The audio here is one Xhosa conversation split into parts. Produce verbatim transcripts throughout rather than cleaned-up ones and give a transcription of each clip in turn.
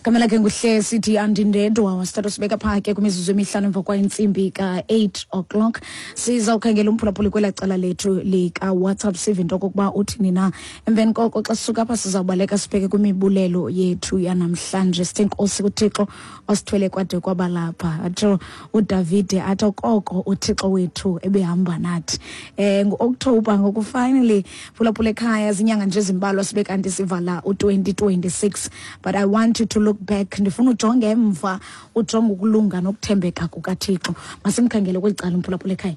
Gama lakhe nguhle sithi andindedwa, wasithatha sibeka phaa ke kwimizuzu emihlanu emva kwentsimbi ka-eight o'clock. Sizawukhangela umphulaphuli kwelaa cala lethu likaWhatsApp, sive into okokuba uthini na. Emveni koko xa sisuka apha sizawubaleka sibheke kwimibulelo yethu yanamhlanje. Sithe nkosi kuThixo osithwele kwade kwabalapha. Atsho uDavide athi okoko uThixo wethu ebehamba nathi. Eh ngu-October ngoku finally, phulaphula ekhaya, zinyanga nje ezimbalwa sibe kanti sivala u-twenty twenty-six. But I want you to look back. Ndifuna ujonge emva, ujonge ukulunga nokuthembeka kukaThixo. Masimkhangele kweli cala umphulaphula ekhaya.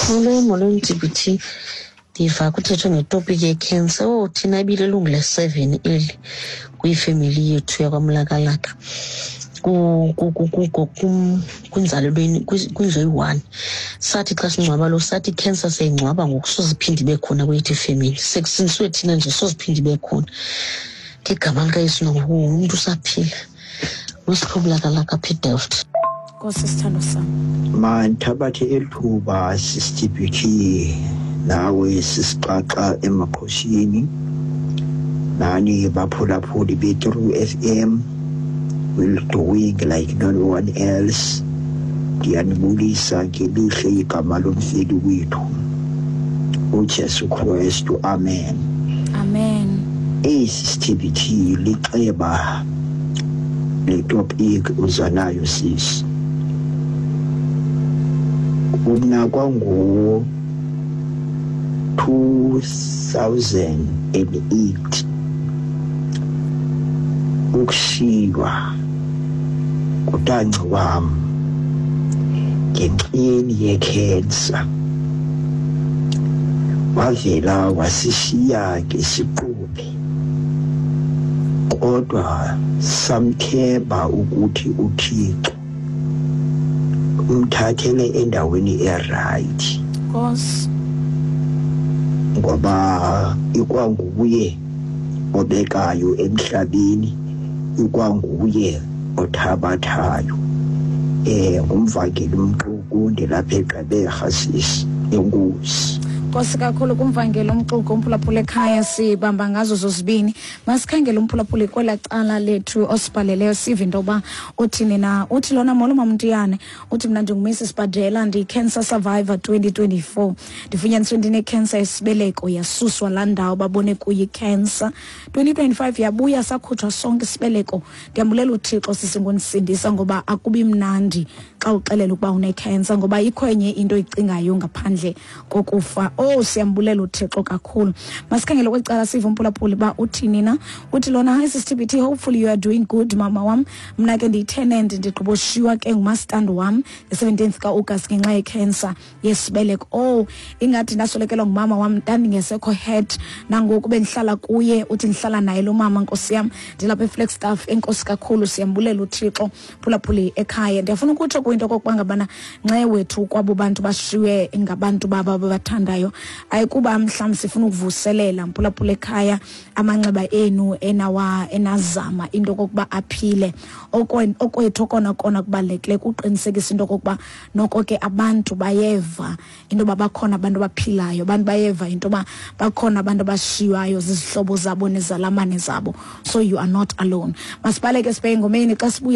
Molweni, molweni T B T. Ndiva kuthethwe ngetopiki yekhensa. Oh, thina ibililungu le-seven eli kwifemeli yethu yakwaMlakalaka. Ku-, ku-, ku-, ku-, ku-, kum-, kwinzalelweni, kwi-, kwindlu eyi-one. Sathi xa singcwaba lo, sathi ikhensa siyayingcwaba ngoku, soze iphinde ibe khona kweyethu ifemeli. Sekusindiswe thina nje, soze iphinde ibe khona. Ngegama likaYesu nangoku umntu usaphila. Nosihlobo apha eDelft. Nkosi sithando sam. Mandithabathe eli thuba sisi T B T nawe sisixaxa emakhosini, nani baphulaphuli be-True F M, will doing like no one else. Ndiyanibulisa ngelihle igama lomfeli wethu uJesu Kristu, amen. Amen. Esi T B T lixeba le topic uza nayo sisi. Umna kwangu two thousand and eight ukushiywa kutanci wam ngenxeni yekhensa, wavela wasishiya ngesiquphe, kodwa samthemba ukuthi uThixo umthathele endaweni eright. Nkosi. Ngoba ikwanguye obekayo emhlabeni, ikwanguye othabathayo. Eh, ngumvangeli uMxuku ndilapha eGqeberha sisi. Enkosi. Nkosi kakhulu kumvangeli uMxuku, umphulaphuli ekhaya, sibamba ngazo zozibini. Masikhangele umphulaphuli kwelaa cala lethu osibhaleleyo, sive into yoba uthini na. Uthi lona, molo Mamntiyane, uthi mna ndinguMrs Badela, ndiyi-cancer survivor twenty twenty-four. Ndifunyaniswe ndine-cancer yesibeleko, yasuswa laa ndawo babone kuyo i-cancer. twenty twenty-five yabuya, sakhutshwa sonke isibeleko. Ndiyambulela uThixo sisi ngondisindisa, ngoba akubi mnandi xa uxelela ukuba une-cancer, ngoba ikho enye into oyicingayo ngaphandle kokufa. Oh, siyambulela uThixo kakhulu. Masikhangele kweli cala sive umphulaphuli uba uthini na. Uthi lona, hi Sis T B T, hopefully you are doing good mama wam. Mna ke ndiyi-tenant, ndigqiboshiywa ke ngumastand wam nge-seventeenth ka-August ngenxa ye-cancer yesibeleko. Oh, ingathi ndaswelekelwa ngumama wam, ndandingesekho head nangoku bendihlala kuye. Uthi ndihlala naye lo mama, nkosi yam, ndilapha eFlagstaff. Enkosi kakhulu, siyambulela uThixo. Phulaphuli ekhaya, ndiyafuna ukutsho kwinto okokuba ngabana nxe wethu kwabo bantu bashiywe ngabantu babo ababathandayo, ayikuba mhlawumbi sifuna ukuvuselela mphulaphula ekhaya amanxeba enu enawa enazama into okokuba aphile. Okwe-, okwethu okona kona kubalulekileyo kuqinisekisa into okokuba noko ke abantu bayeva into yoba bakhona abantu abaphilayo, abantu bayeva into yoba bakhona abantu abashiywayo zizihlobo zabo nezalamane zabo. So you are not alone. Masibaleke sibheke engomeni xa sibuya.